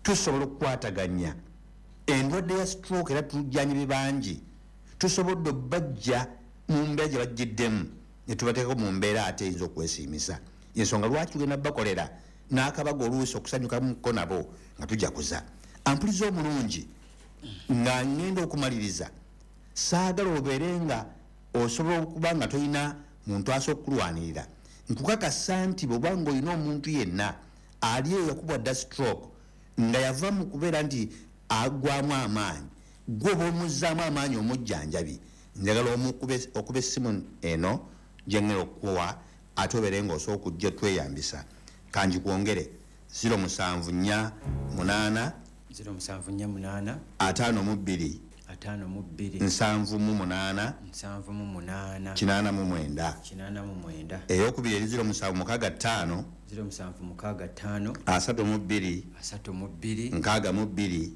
Tusobola okukwataganya endwadde ya stroke, era tujjanyibi bangi tusobodde obbajja mu mbeera gye bajjiddemu ne tubateekako mu mbeera ate eyinza okwesiimisa. Ensonga lwaki tugenda bakolera n'akabaga oluusi okusanyukamuko nabo nga tujaguza. Ampuliza omulungi, nga ngenda okumaliriza, saagala obeere nga osobola okuba nga tolina muntu asobola okukulwanirira. Nkukakasa nti bw'oba nga olina omuntu yenna ali eyo yakubwa dda stroke nga yava mu kubeera nti agwamu amaanyi, gwe oba omuzzaamu amaanyi omujjanjabi, njagala okuba essimu eno gyengenda okukuwa ate obeere ng'osobola okujja tweyambisa. Kangikwongere: 0748 0748 52 52 78 78 89. 89. Eyokubiri eri 0765 0765 32 32 62 62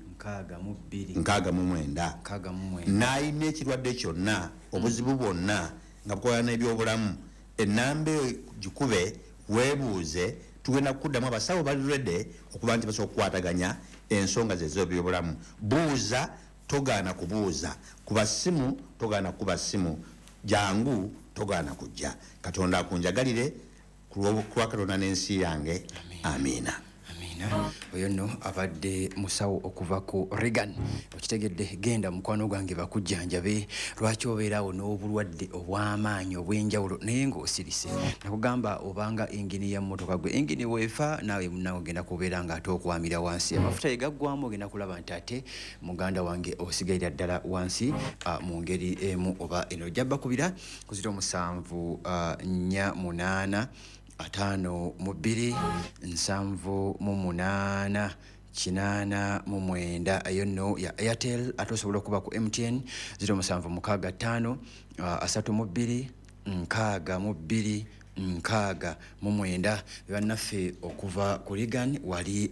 69. 69. N'alina ekirwadde kyonna, obuzibu bwonna nga bukolana n'ebyobulamu, enamba eyo gikube weebuuze, tugenda kukuddamu. Abasawo bali ready okuba nti basobola okukwataganya ensonga ze ez'ebyobulamu. Buuza, togaana kubuuza, kuba simu, togaana kukuba simu, jangu, togaana kujja. Katonda akunjagalire ku lwa Katonda n'ensi yange. Amiina. Amiina. Oyo nno abadde musawo okuva ku Regan. Okitegedde? Genda mukwano gwange bakujjanjabe. Lwaki obeeraawo n'obulwadde obw'amaanyi obw'enjawulo naye ng'osirise? Nakugamba, obanga engini ya mmotoka, gwe engini weefa, naawe munnawe ogenda kubeera nga ate okwamira wansi. Amafuta ye gaggwamu, ogenda kulaba nti ate muganda wange osigalira ddala wansi mu ngeri emu oba eno. Ojja bakubira ku 07 48 52 78 89. Eyo nno ya Airtel. Ate osobola okuba ku MTN 0765 32 62 69. Bannaffe okuva ku Regan wali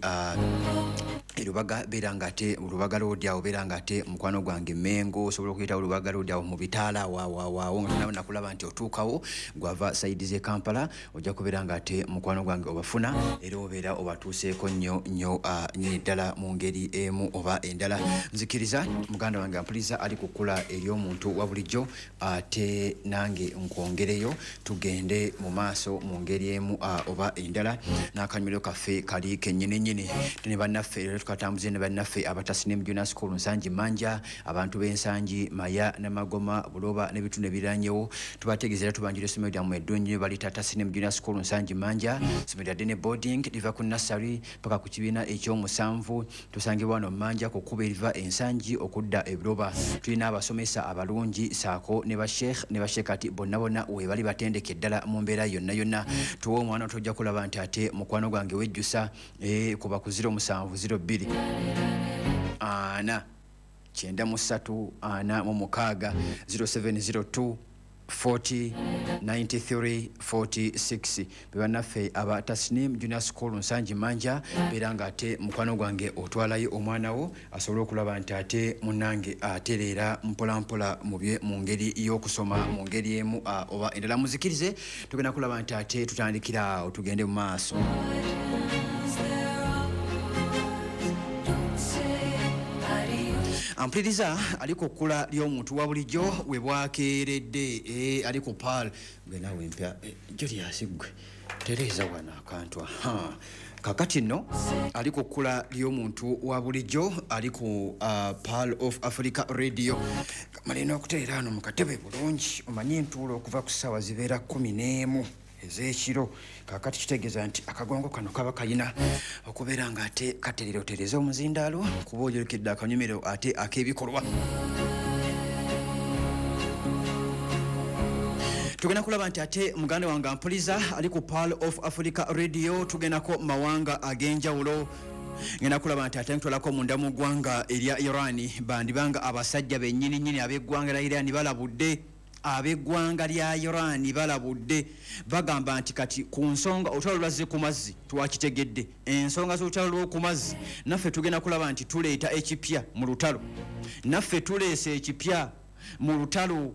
erubaga, beera nga ate Lubaga Road awo, beera nga ate mukwano gwange Mengo osobola okuyitawo Lubaga Road awo mu bitaala awawawaawo nga tonaba nakulaba nti otuukawo gwava side z'e Kampala, ojja kubeera nga ate mukwano gwange obafuna era obeera obatuuseeko nnyo nnyo nnyini ddala mu ngeri emu oba endala. Nzikiriza muganda wange ampuliza ali ku kkula ery'omuntu wa bulijjo, ate nange nkwongereyo tugende mu maaso mu ngeri emu oba endala n'akanyumiro kaffe kali kennyini nnyini ne bannaffe. Era tukatambuze ne bannaffe aba Tasnim Junior School Nsangi Manja. Abantu b'Ensangi, Maya, Namagoma, Buloba n'ebitundu ebiriranyewo, tubategeeza era tubanjira essomero lyammwe eddungi balita Tasnim Junior School Nsangi Manja. Essomero lya day boarding, liva ku nursery paka ku kibiina ekyomusanvu. Tusangibwa wano Manja ku kkubo eriva Ensangi okudda Ebuloba. Tulina abasomesa abalungi saako ne basheikh ne bashekati, bonna bonna webali batendeke ddala mu mbeera yonna yonna. Tuwe omwana, tojja kulaba nti ate mukwano gwange wejjusa. Kuba ku 0702 4 93 46, 0702 40 93 46. Bebannaffe aba Tasnim Junior School Nsangi Manja. Beera nga ate mukwano gwange otwalayo omwana wo asobole okulaba nti ate munange atereera mpolampola mubye mu ngeri y'okusoma mu ngeri emu oba endala. Muzikirize tugenda kulaba nti ate tutandikira awo tugende mu maaso. Ampuliriza ali ku kkula ly'omuntu wa bulijjo we bwakeeredde, ali ku Pearl gwe naawe empya, Julius gwe tereeza wano akantu. Aha, kakati nno ali ku kkula ly'omuntu wa bulijjo ali ku Pearl of Africa Radio. Malina okuteera wano mu katebe bulungi. Omanye entuula okuva ku ssaawa zibeera 11 ez'ekiro. Kakati kitegeeza nti akagongo kano kaba kalina okubeera nga ate katerera. Otereze omuzindaalo kuba oyolekedde akanyumiro ate ak'ebikolwa. Tugenda kulaba nti ate muganda wange ampuliza ali ku Pearl of Africa Radio tugendako mu mawanga ag'enjawulo. Ngenda kulaba nti ate ntwalako munda mu ggwanga erya Iran. Bandibanga abasajja bennyini nnyini ab'eggwanga lya Iran balabudde. Ab'eggwanga lya Iran balabudde, bagamba nti kati ku nsonga olutalo lwazze ku mazzi, twakitegedde ensonga z'olutalo lw'oku mazzi, naffe tugenda kulaba nti tuleeta ekipya mu lutalo, naffe tuleese ekipya mu lutalo.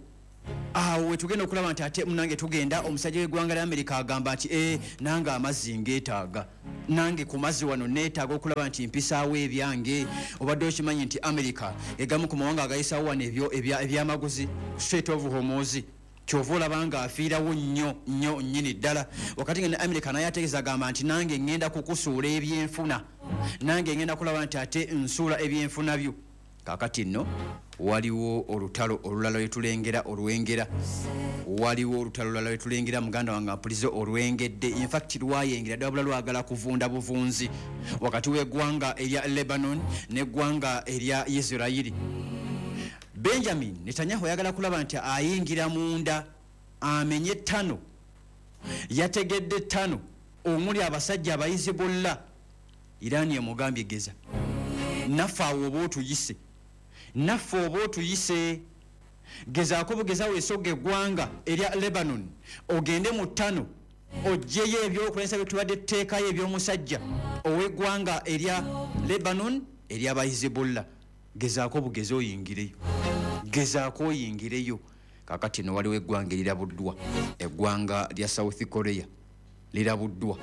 Awo wetugenda okulaba nti ate munange tugenda, omusajja w'eggwanga lya Amerika agamba nti nange amazzi ngeetaaga, nange ku mazzi wano neetaaga okulaba nti mpisaawo ebyange. Obadde okimanyi nti Amerika egamu ku mawanga agayisaawo wano ebyamaguzi Strait of Hormuz, kyova olaba nga afiirawo nnyo nnyo nnyini ddala. Wakati nga ne Amerika naye ategeeza, agamba nti nange ŋŋenda kukusuula ebyenfuna, nange ŋŋenda kulaba nti ate nsuula ebyenfuna byo. Kakati nno waliwo olutalo olulala lwetulengera olwengera, waliwo olutalo olulala lwetulengera, muganda wange ampulize, olwengedde. Infact lwayengera ddala, bula lwagala kuvunda buvunzi, wakati w'eggwanga erya Lebanon n'eggwanga erya Isirayiri. Benjamin Netanyahu ayagala kulaba nti ayingira munda amenye ttano. Yategedde ttano omuli abasajja Abahizibulla. Irani emugambye, geza naffe awo oba otuyise, naffe oba otuyise, gezaako bugeza weesogga eggwanga erya Lebanon, ogende mu ttano ogyeyo ebyokulwanyisa byetubadde tuteekayo ebyomusajja ow'eggwanga erya Lebanon ery'Abahizibulla. Gezaako bugezi oyingireyo, gezaako oyingireyo. Kakati no waliwo eggwanga erirabuddwa, eggwanga lya South Korea lirabuddwa.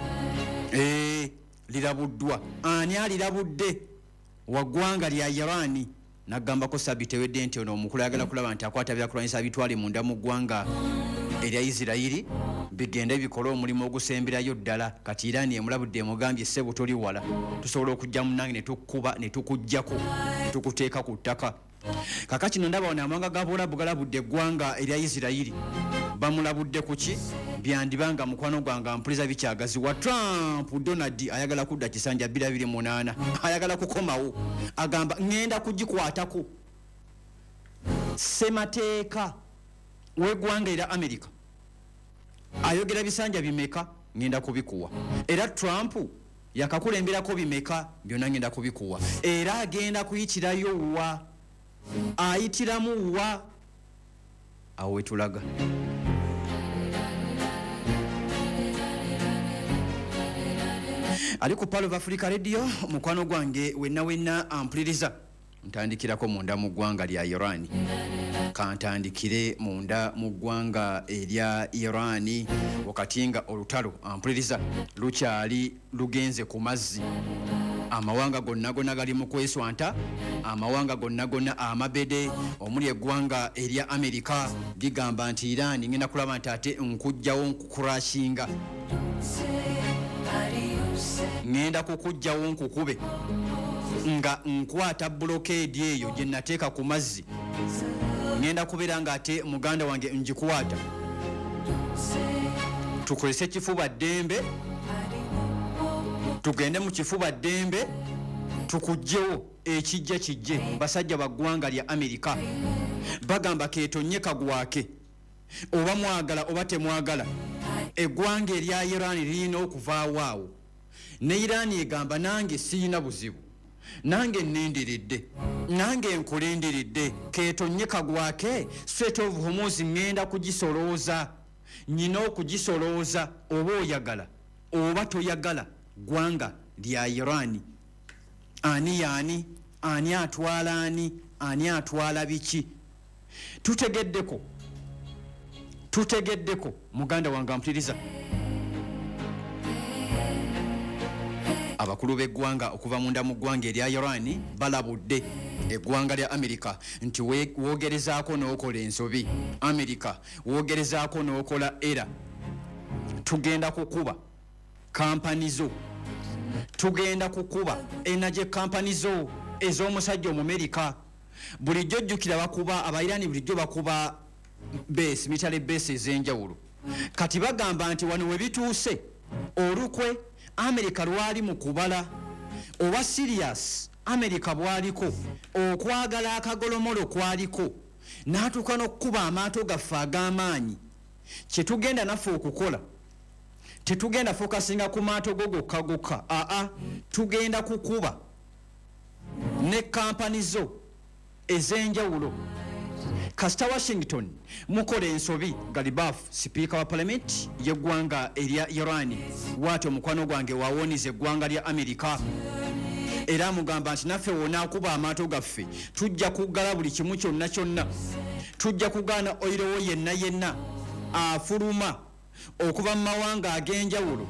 Lirabuddwa. Ani alirabudde? Wa ggwanga lya Irani. Nagambako sabiti ewedde nti ono omukulu ayagala kulaba nti akwata byakulwanyisa bitwale munda mu ggwanga erya Isirayiri, bigende bikole omulimu ogusemberayo ddala. Kati Irani emulabudde, emugambye, ssebo toli wala, tusobola okujja munange ne tukkuba ne tukugjako ne tukuteeka ku ttaka. Kakati no ndaba wano amawanga ga Buwalabu galabudde eggwanga erya Isirayiri. Bamulabudde kuki? Byandibanga mukwano gwange ampuliza bikyagaziwa. Trump Donald ayagala kudda kisanja 2028, ayagala kukomawo, agamba ŋŋenda kugikwatako. Ssemateeka w'eggwanga erya Amerika ayogera bisanja bimeka? Ŋŋenda kubikuwa. Era Trump yakakulemberako bimeka? Byonna ŋŋenda kubikuwa. Era agenda kuyitirayo wa? Ayitiramu wa? Awo wetulaga ali ku Pearl of Africa Radio. Mukwano gwange wenna wenna ampuliriza, ntandikirako munda mu ggwanga lya Iran. Kantandikire munda mu ggwanga erya Iran, wakati nga olutalo, ampuliriza, lukyali lugenze ku mazzi. Amawanga gonna gonna gali mu kweswanta, amawanga gonna gonna amabede omuli eggwanga erya Amerika ligamba nti Iran ngenda kulaba nti ate nkugjawo, nkukurashinga, ngenda kukugjawo, nkukube nga nkwata blockade eyo gye nateeka ku mazzi, ngenda kubeera nga ate muganda wange ngikwata, tukozese kifuba ddembe, tugende mu kifuba ddembe tukugjewo, ekijja kijje. Basajja ba ggwanga lya Amerika bagamba ketonye kagwake, oba mwagala oba temwagala, eggwanga erya Iran lirina okuvaawo awo. Ne Iran egamba nange siyina buzibu, nange nendiridde, nange nkulindiridde, ketonye kagwake, Strait of Hormuz ŋŋenda kugisolooza, nyina okugisolooza, oba oyagala oba toyagala. Ggwanga lya Iran, ani yaani? Ani atwala ani? Ani atwala biki? Tutegeddeko, tutegeddeko. Muganda wange ampuliriza, abakulu b'eggwanga okuva munda mu ggwanga erya Iran balabudde eggwanga lya Amerika nti woogerezaako n'okola ensobi, Amerika woogerezaako n'okola era tugenda kukuba kampani zo, tugenda kukuba energy kampani zo ez'omusajja Omumerika. Bulijjo jjukira bakuba Abairani, bulijjo bakuba base, military base ez'enjawulo. Kati bagamba nti wano we bituuse, olukwe Amerika lwali mu kubala oba serious Amerika bwaliko okwagala akagolomolo kwaliko n'atuuka n'okukuba amaato gaffe ag'amaanyi. Kyetugenda naffe okukola, tetugenda focusinga ku maato go gokka gokka, aa, tugenda kukuba ne kampani zo ez'enjawulo kasita Washington mukola ensobi. Galibaf, sipiika wa palamenti y'eggwanga erya Iran, waati omukwano gwange wawoniza eggwanga lya Amerika, era amugamba nti naffe wonaakuba amaato gaffe tujja kuggala buli kimu kyonna kyonna. Tujja kugaana oil wo yenna yenna afuluma okuva mu mawanga ag'enjawulo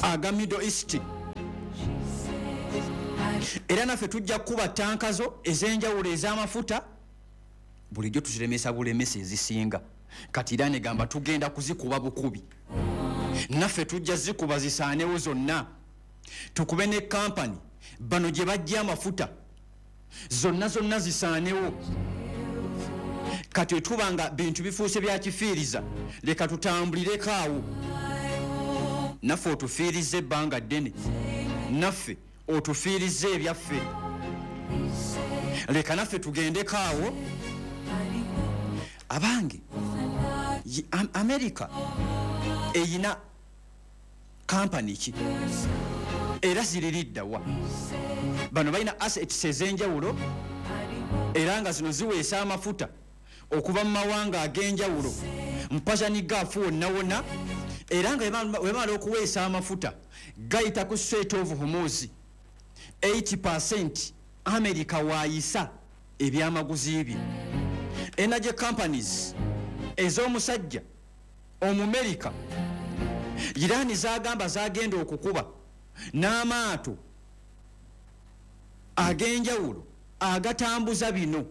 aga Middle East. Era naffe tujja kukuba tanka zo ez'enjawulo ez'amafuta, bulijjo tuziremesa bulemesa ezisinga. Kati Iran egamba tugenda kuzikuba bukubi, naffe tujja zikuba zisaanewo zonna, tukube ne kampani bano gye bajja amafuta zonna zonna zisaanewo. Kati wetuba nga bintu bifuuse bya kifiiriza, leka tutambulireko awo, naffe otufiirize ebbanga ddene, naffe otufiirize ebyaffe, leka naffe tugendeko awo. Abange, Amerika eyina kampani ki era ziririddawa? Bano balina assets ez'enjawulo era nga zino ziweesa amafuta okuva mu mawanga ag'enjawulo mu Persian Gulf wonna wonna, era nga webamala okuweesa amafuta gayita ku Strait of Hormuz. 80% America waayisa ebyamaguzi bye. Energy companies ez'omusajja Omumerika Iran zagamba zagenda okukuba n'amaato ag'enjawulo agatambuza bino.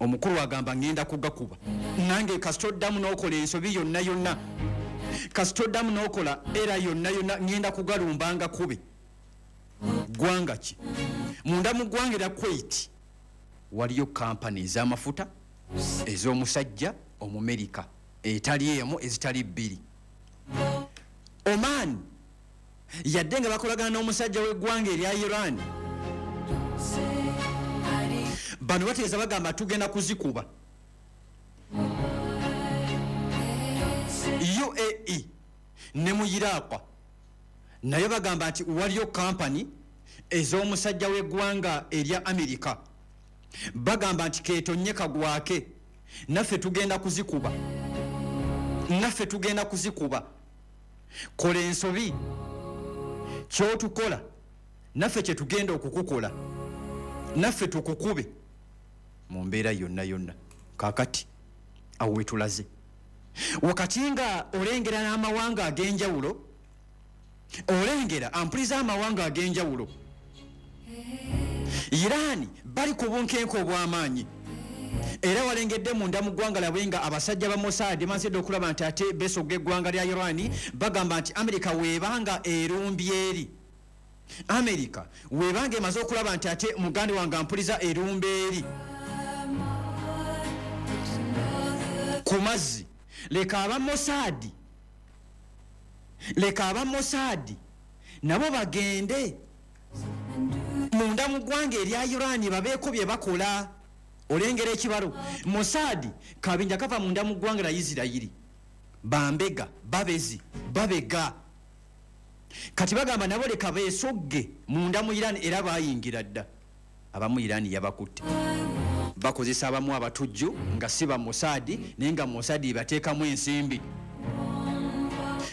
Omukulu agamba ngenda kugakuba nange, kasita oddamu n'okola ensobi yonna yonna, kasita oddamu n'okola era yonna yonna, ngenda kugalumba nga kube. Ggwanga ki? Munda mu ggwanga erya Kuwait waliyo kampani ez'amafuta ez'omusajja Omumerika etali emu ezitali bbiri. Oman yadde nga bakolagana n'omusajja w'eggwanga erya Iran, bano bategeeza bagamba tugenda kuzikuba. UAE ne mu Iraq naye bagamba nti waliyo kampani ez'omusajja w'eggwanga erya Amerika, bagamba nti keetonye kagwake, naffe tugenda kuzikuba, naffe tugenda kuzikuba. Kola ensobi, kyotukola naffe kyetugenda okukukola, naffe tukukube mu mbeera yonna yonna. Kaakati awo wetulaze wakati nga olengera n'amawanga ag'enjawulo, olengera ampuliza amawanga ag'enjawulo. Iran bali ku bunkenke obw'amaanyi, era walengedde munda mu ggwanga lyabwe nga abasajja ba Mossad mazedde okulaba nti ate besogga eggwanga lya Iran. Bagamba nti Amerika weebanga erumbye eri, Amerika weebanga emaze okulaba nti ate muganda wange ampuliza erumba eri ku mazzi, leka aba Mossad, leka aba Mossad nabo bagende munda mu ggwanga erya Iran babeeko bye bakola. Olengera ekibalo Mossad kabinja kava munda mu ggwanga lya Isirayiri, bambega babezi babega. Kati bagamba nabo leka beesogge munda mu Iran, era bayingira dda. Abamu Iran yabakutte, bakozesa abamu abatujju nga si ba Mossad, naye nga Mossad ebateekamu ensimbi.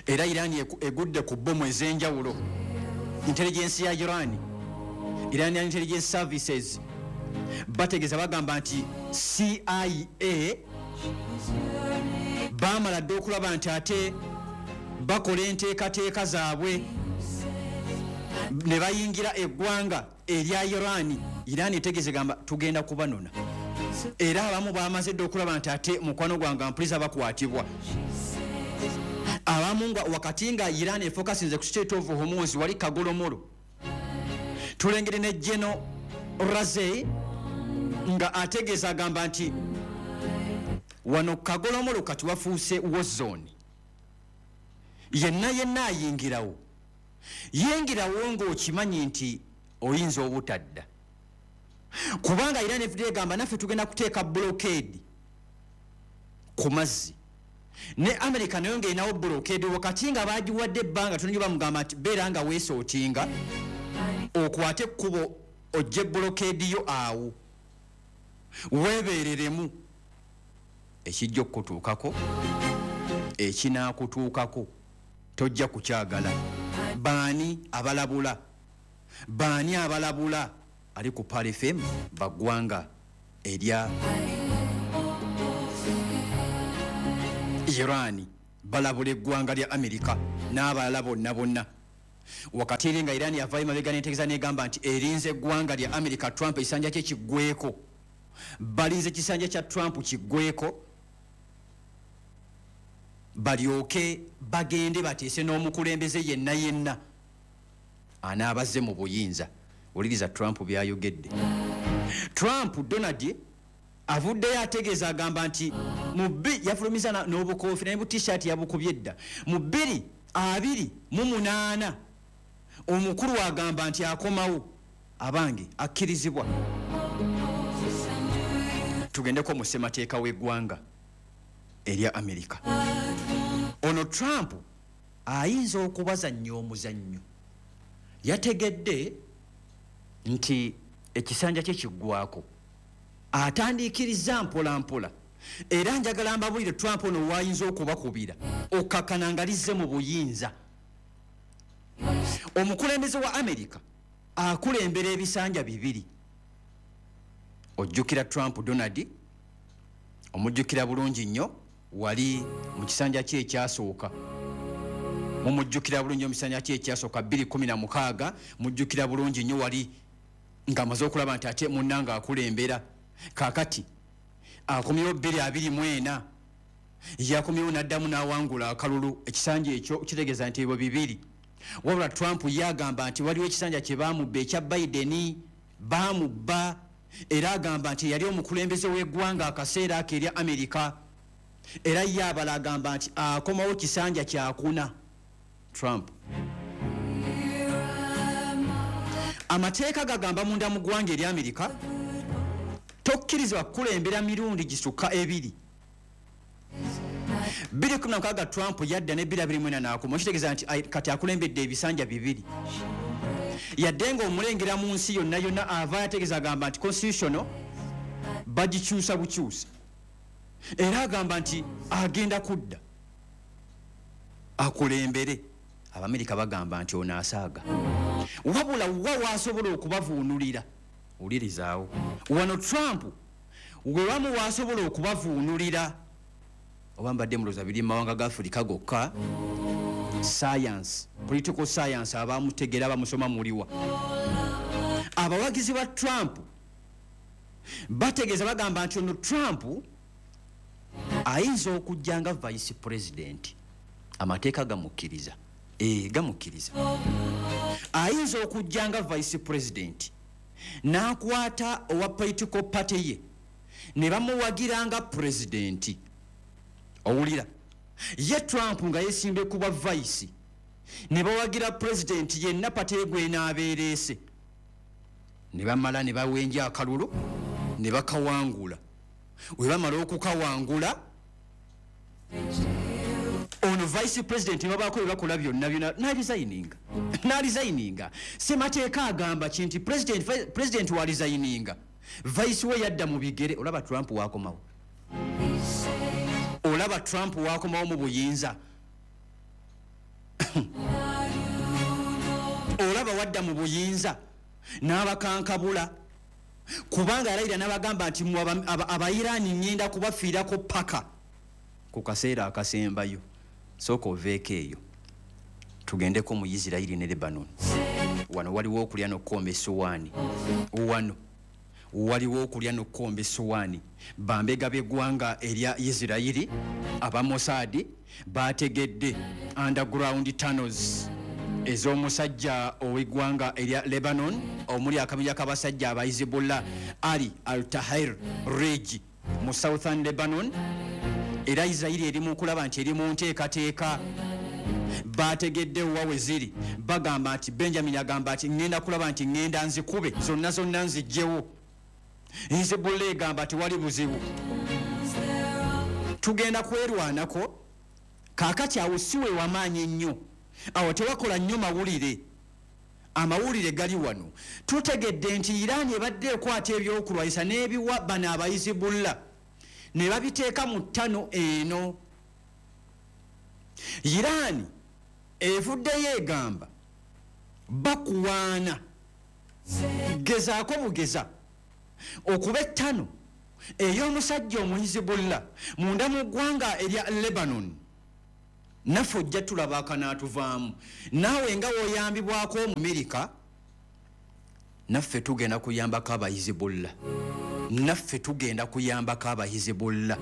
Era Iran egudde ku bbomu ez'enjawulo. Intelligence ya Iran, Iranian Intelligence Services, bategeeza bagamba nti CIA baamala dda okulaba nti ate bakola enteekateeka zaabwe ne bayingira eggwanga erya Iran. Iran etegeeza gamba tugenda kubanona, era abamu bamaze dda okulaba nti ate mukwano gwange ampuliza bakwatibwa. Abamu nga wakati nga Iran efokasinze ku Strait of Hormuz wali kagolomolo, tulengere ne General Razei nga ategeeza agamba nti wano kagolomolo kati wafuuse war zone, yenna yenna ayingirawo yingirawo ng'okimanyi nti oyinza obutadda, kubanga Iran efudde egamba naffe tugenda kuteeka blockade ku mazzi. Ne America nayo ng'erinawo blockade wakati nga bagiwadde ebbanga tono, bamugamba nti beera nga weesootinga okwate ekkubo ojje blockade yo awo weebeereremu, ekijja okukutuukako ekinaakutuukako tojja kukyagala. Baani abalabula? Baani abalabula? Ali ku Pearl FM baggwanga erya Iran balabula eggwanga lya Amerika n'abalala bonna bonna. Wakati eri nga Iran yavaayo mabega n'etegeeza n'egamba nti erinze eggwanga lya Amerika Trump ekisanja kye kiggweeko, balinze ekisanja kya Trump kiggweeko balyoke bagende bateese n'omukulembeze yenna yenna anaabazze mu buyinza. Wuliriza Trump by'ayogedde. Trump Donald avuddeyo ategeeza agamba nti mu yafulumiza n'obukofiira ne bu t-shirt yabukubye dda. Mu 2028 omukulu agamba nti akomawo, abange akkirizibwa. Tugendeko mu ssemateeka w'eggwanga erya Amerika. Ono Trump ayinza okubazannya omuzannyo. Yategedde nti ekisanja kye kiggwako, atandiikiriza mpola mpola. Era njagala mbabulire Trump ono wayinza okubakubira okkakkana nga lizze mu buyinza. Omukulembeze wa Amerika akulembera ebisanja bibiri. Ojjukira Trump Donald, omujjukira bulungi nnyo wali mu kisanja kye ekyasooka. Mumujjukira bulungi mu kisanja kye ekyasooka 2016, mujjukira bulungi nnyo wali ng'amaze okulaba nti ate munnange akulembera. Kaakati akomyewo 2024, yakomyewo n'addamu n'awangula akalulu. Ekisanja ekyo kitegeeza nti ebyo bibiri. Wabula Trump yagamba nti waliwo ekisanja kye baamubba ekya Biden, baamubba, era agamba nti yali omukulembeze w'eggwanga akaseera ako erya Amerika. Era ye abala agamba nti akomawo kisanja kyakuna. Trump amateeka gagamba munda mu ggwanga erya Amerika tokkirizibwa kukulembera mirundi gisukka ebiri. 2016 Trump yadda ne 2024 n'akoma, kitegeeza nti kati akulembedde ebisanja bibiri. Yadde ng'omulengera mu nsi yonna yonna ava yategeeza agamba nti constitutional bagikyusa bukyusa. Era agamba nti agenda kudda akulembere. Abamerika bagamba nti ono asaaga. Wabula wa waasobola okubavuunulira, wulirizaawo wano Trump we wamu waasobola okubavuunulira. Oba mbadde mulowooza biri mu mawanga ga Afirika gokka, science, political science abamutegeera bamusoma muliwa. Abawagizi ba Trump bategeeza bagamba nti ono Trump ayinza okujja nga vice president. Amateeka gamukkiriza. Gamukkiriza. Ayinza okujja nga vice president n'akwata owa political party ye ne bamuwagira nga president. Owulira ye Trump nga yeesimbye ku bwa vice ne bawagira president yenna party ye gw'enaabeereese, ne bamala ne bawenja akalulu ne bakawangula. We bamala okukawangula ono vice president babaako bye bakola byonna byonna n'alizayininga. Ssemateeka agamba ki nti president walizayininga, vice we yadda mu bigere. Olaba Trump waakomawo, olaba Trump waakomawo mu buyinza, olaba wadda mu buyinza n'abakankabula, kubanga yalayira n'abagamba nti Abairani ngenda kubafiirako paka ku kaseera akasembayo. Sooka oveeko eyo tugendeko mu Isirayiri ne Lebanon. Wano waliwo okulya n'okukomba essowaani. Wano waliwo okulya n'okukomba essowaani. Bambega b'eggwanga erya Isirayiri aba Mossad bategedde underground tunnels ez'omusajja ow'eggwanga erya Lebanon omuli akabinja k'abasajja aba Hezbollah Ali Al-Tahir Ridge mu Southern Lebanon. Era Isirayiri eri mu kulaba nti eri mu nteekateeka. Bategedde wa we ziri, bagamba nti Benjamin agamba nti ŋŋenda kulaba nti ŋŋenda nzikube zonna zonna nzigyewo. Hezbollah egamba tewali buzibu, tugenda kwerwanako. Kaakati awo si we wamaanyi ennyo, awo tewakola nnyo mawulire. Amawulire gali wano. Tutegedde nti Iran ebadde ekwata ebyokulwanyisa n'ebiwa bano aba Hezbollah ne babiteeka mu ttano eno. Iran evuddeyo egamba bakuwaana, gezaako bugeza okuba ettano Ey'omusajja Omuhizibulla munda mu ggwanga erya Lebanon, naffe ojja tulaba akanaatuvaamu. Naawe nga woyambibwako Omumerika, naffe tugenda kuyambako Abahizibulla, naffe tugenda kuyambako Abahizibulla.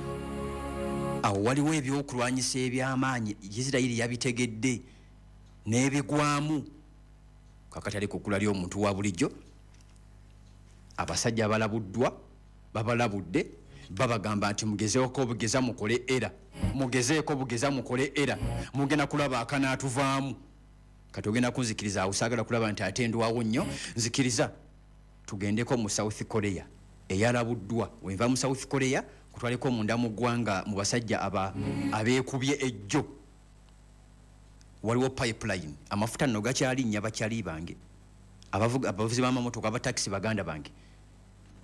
Awo waliwo ebyokulwanyisa ebyamaanyi, Isirayiri yabitegedde n'ebigwamu. Kakati ali ku kkula ly'omuntu wa bulijjo. Abasajja abalabuddwa babalabudde, babagamba nti mugezeeko bugeza mukole era mugezeeko bugeza mukole era mugenda kulaba akanaatuvaamu. Kati ogenda kunzikiriza awo, saagala kulaba nti ate ndwawo nnyo. Nzikiriza tugendeko mu South Korea eyalabuddwa. Wenva mu South Korea, kutwaleko munda mu ggwanga mu basajja aba abeekubye ejjo. Waliwo pipeline, amafuta nno gakyalinnya. Bakyali bange abavuzi b'amamotoka, abatakisi baganda bange,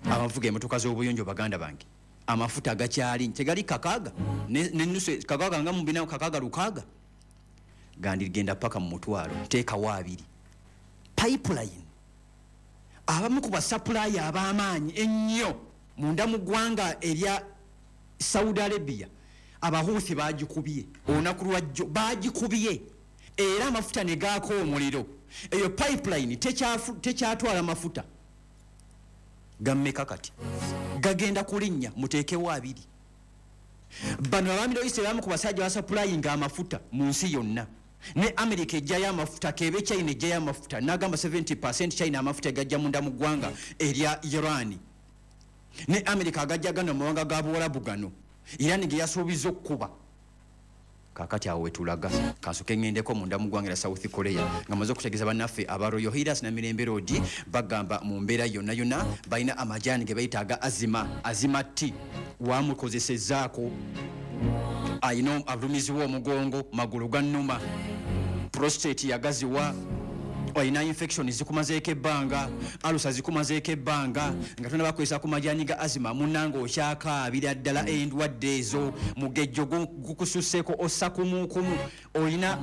abavuga emotoka z'obuyonjo baganda bange, amafuta gakyali tegali 6 nenusu, 6 nga mubina, 6, 6 gandigenda paka mu 100,000, teekawo 2. Pipeline, abamu ku basupplier ab'amaanyi ennyo munda mu ggwanga erya Saudi Arabia, Abahuuthi bagikubye olunaku lwajjo, bagikubye era amafuta ne gaako omuliro. Eyo pipeline tekyatwala mafuta gammeka? Kati gagenda kulinnya, muteekewo 2. Bano aba Middle East, abamu ku basajja basupplyinga amafuta mu nsi yonna, ne America ejjayo amafuta, kebe China ejjayo amafuta, nagamba 70 China amafuta gajja munda mu ggwanga erya Iran, ne America agajja gano mu mawanga ga Buwalabu gano Iran ge yasuubiza okkuba. Kakati awo wetulaga. Kansoke ŋŋendeko munda mu ggwanga lya South Korea nga maze okutegeeza bannaffe aba Royal Healers na Mirembe Road. Bagamba mu mbeera yonna yonna balina amajaani ge bayita aga Azima, Azima T. Wamukozesezzaako ayina alumiziwa omugongo, magulu gannuma, prostate yagaziwa, olina infection zikumazeeko ebbanga, alusa zikumazeeko ebbanga nga tona bakozesa ku majaani ga Azima, munange okyakaabira ddala endwadde ezo. Mugejjo gukususseeko, ossa kumukumu, olina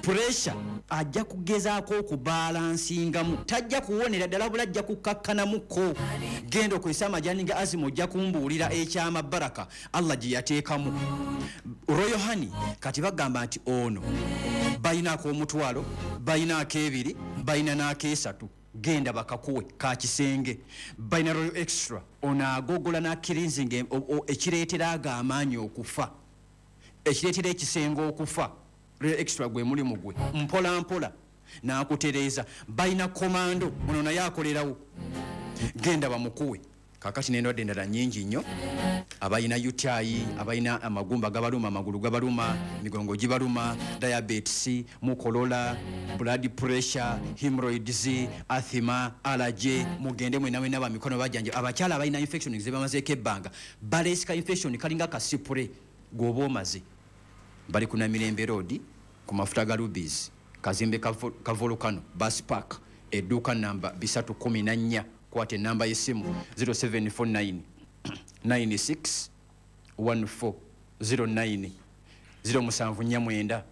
pressure, ajja kugezaako okubalansingamu, tajja kuwonera ddala bula, ajja kukakkanamuko. Genda okozesa amajaani ga Azima, ojja kumbuulira ekyama baraka Allah gye yateekamu. Royal Honey, kati bagamba nti ono balina ak'omutwalo, balina ak'ebiri, balina n'ak'esatu, genda bakakuwe ka kisenge. Balina Royal Extra, ono agogola n'acleansinga ekireetera ago amaanyi okufa, ekireetera ekisenge okufa. Royal Extra gwe mulimu gwe, mpola mpola n'akutereeza. Balina Komando, ono naye akolerawo, genda bamukuwe. Kakati n'endwadde endala nyingi nnyo, abalina UTI, abalina amagumba gabaluma, amagulu gabaluma, migongo gibaluma, diabetes, mukolola, blood pressure, hemorrhoids, asthma, allergy, mugende mwena mwena bamikono bajjanja. Abakyala abalina infection zebamazeeko ebbanga, balesika infection kalinga kasipule gwoba omaze. Bali ku Namirembe Road ku mafuta ga Rubis, kazimbe ka Volcano Bus Park, edduuka namba 314. Kwata enamba y'essimu 0749 96 1409, 0749.